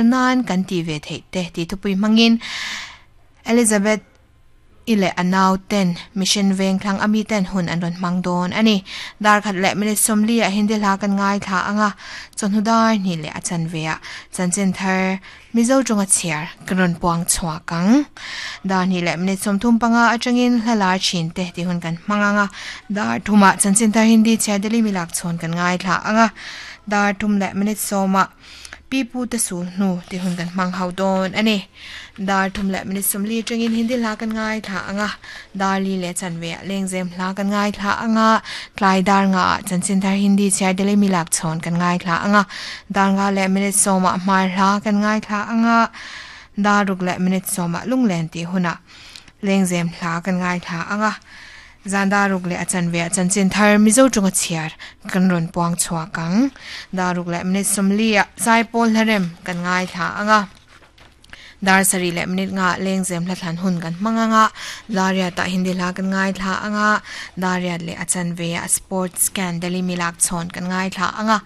zel nan kan ti ve theih te tih thupui hmangin Elizabeth i leh a nau ten Mission Vengthlang a mi ten hun an rawn hmang dawn a ni. Dar khat leh minute 40 ah Hindi hla kan ngaithla anga chawhnu dar hnih leh a chanve ah chanchin thar Mizo tawnga chhiar kan rawn puang chhuak ang. Dar hnih leh minute 35 atangin hla lar thin te tih hun kan hmang anga dar thumah chanchin thar Hindi chhiar Delhi milak chhawn kan ngaithla anga dar thum leh minute 10 ah Pi pu te sul hnu tih hun kan hmang ho dawn a ni. Dar thum leh minute 40 atangin Hindi hla kan ngaithla anga dar li leh chanve ah lengzem hla kan ngaithla anga tlai dar nga ah chanchin thar Hindi chhiar Delhi milak chhawn kan ngaithla anga dar nga leh minute 10 ah hmar hla kan ngaithla anga dar ruk leh minute 10 ah lunglen tih hunah lengzem hla kan ngaithla anga zan dar ruk leh a chanve ah chanchin thar Mizo tawnga chhiar kan rawn puang chhuak ang. Dar ruk leh minute 40 ah zaipawl hlarem kan ngaithla anga dar sarih leh minute nga lengzem hla thlan hun kan hmang anga dariat ah Hindi hla kan ngaithla anga dariat leh a chanve ah sports scan Delhi milak chhawn kan ngaithla anga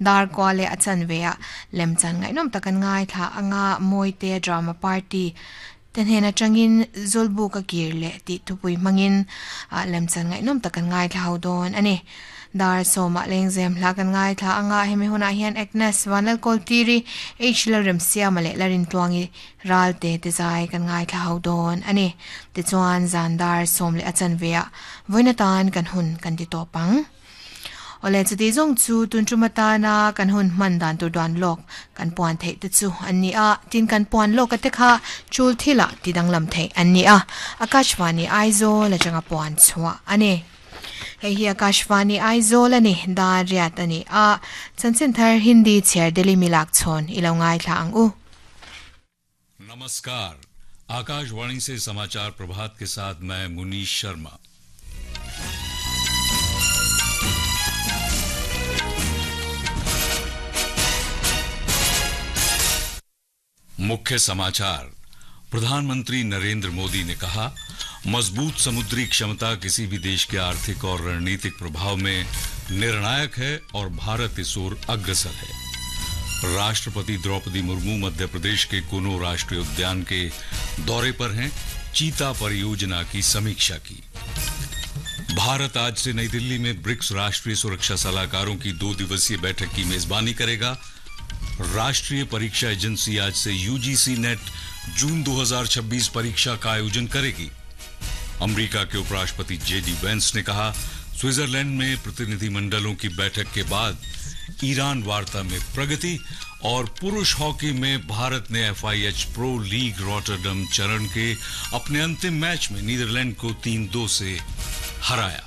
dar kua leh a chanve ah lemchan ngaihnawm tak kan ngaithla anga mawite drama party te hnen atangin Zulbu ka kir leh tih thupui hmangin lemchan ngaihnawm tak kan ngaithla ho dawn a ni. Dar sawmah lengzem hla kan ngaithla anga hemi hunah hian Agnes Vanlalkawltiri H Lalremsiama leh Larintluangi Ralte te zai kan ngaithla ho dawn a ni. Tichuan zan dar sawm leh a chanve ah vawiin atan kan hun kan ti tawp ang. Awle chuti zawng chu tun tum atana kan hun hman dan tur duan lawk kan puan theih te chu an ni a, tin kan puan lawk a te kha chul thilah ti danglam theih an ni a, Akashvani Aizawl atanga puan chhuah a ni. Hei hi Akashvani Aizawl a ni, dar riat a ni a, chanchin thar Hindi chhiar Delhi milak chhawn i lo ngaithla ang u. नमस्कार, आकाशवाणी से समाचार प्रभात के साथ मैं मुनीश शर्मा। मुख्य समाचार। प्रधानमंत्री नरेंद्र मोदी ने कहा, मजबूत समुद्री क्षमता किसी भी देश के आर्थिक और रणनीतिक प्रभाव में निर्णायक है और भारत इस ओर अग्रसर है। राष्ट्रपति द्रौपदी मुर्मू मध्य प्रदेश के कोनो राष्ट्रीय उद्यान के दौरे पर हैं, चीता परियोजना की समीक्षा की। भारत आज से नई दिल्ली में ब्रिक्स राष्ट्रीय सुरक्षा सलाहकारों की 2 दिवसीय बैठक की मेजबानी करेगा। राष्ट्रीय परीक्षा एजेंसी आज से यूजीसी नेट जून 2026 परीक्षा का आयोजन करेगी। अमेरिका के उपराष्ट्रपति जेडी वेंस ने कहा, स्विट्जरलैंड में प्रतिनिधिमंडलों की बैठक के बाद ईरान वार्ता में प्रगति। और पुरुष हॉकी में भारत ने FIH pro league Rotterdam चरण के अपने अंतिम मैच में नीदरलैंड को 3-2 से हराया।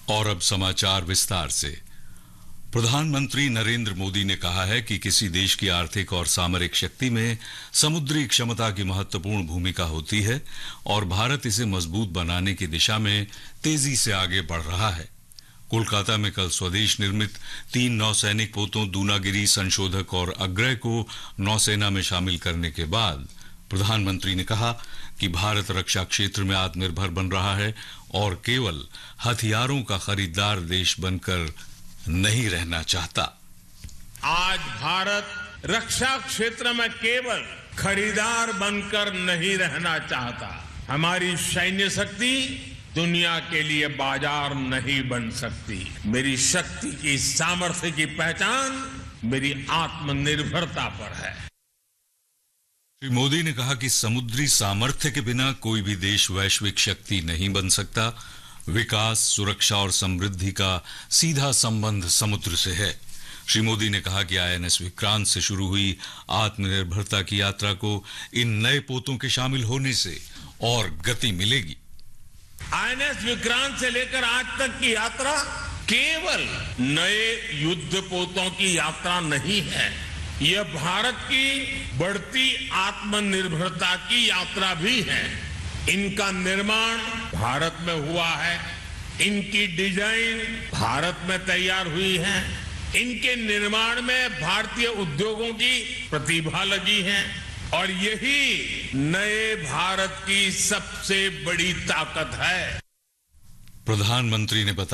और अब समाचार विस्तार से। प्रधानमंत्री नरेंद्र मोदी ने कहा है कि किसी देश की आर्थिक और सामरिक शक्ति में समुद्री क्षमता की महत्वपूर्ण भूमिका होती है और भारत इसे मजबूत बनाने की दिशा में तेजी से आगे बढ़ रहा है। कोलकाता में कल स्वदेश निर्मित 3 नौसैनिक पोतों दूनागिरी, संशोधक और अग्रय को नौसेना में शामिल करने के बाद प्रधानमंत्री ने कहा कि भारत रक्षा क्षेत्र में आत्मनिर्भर बन रहा है और केवल हथियारों का खरीदार देश बनकर नहीं रहना चाहता। आज भारत रक्षा क्षेत्र में केवल खरीदार बनकर नहीं रहना चाहता। हमारी सैन्य शक्ति दुनिया के लिए बाजार नहीं बन सकती। मेरी शक्ति की सामर्थ्य की पहचान मेरी आत्मनिर्भरता पर है। श्री मोदी ने कहा कि समुद्री सामर्थ्य के बिना कोई भी देश वैश्विक शक्ति नहीं बन सकता। विकास, सुरक्षा और समृद्धि का सीधा संबंध समुद्र से है। श्री मोदी ने कहा कि आईएनएस विक्रांत से शुरू हुई आत्मनिर्भरता की यात्रा को इन नए पोतों के शामिल होने से और गति मिलेगी। आईएनएस विक्रांत से लेकर आज तक की यात्रा केवल नए युद्ध पोतों की यात्रा नहीं है, यह भारत की बढ़ती आत्मनिर्भरता की यात्रा भी है। इनका निर्माण भारत में हुआ है, इनकी डिजाइन भारत में तैयार हुई है, इनके निर्माण में भारतीय उद्योगों की प्रतिभा लगी है और यही नए भारत की सबसे बड़ी ताकत है। प्रधानमंत्री ने बताया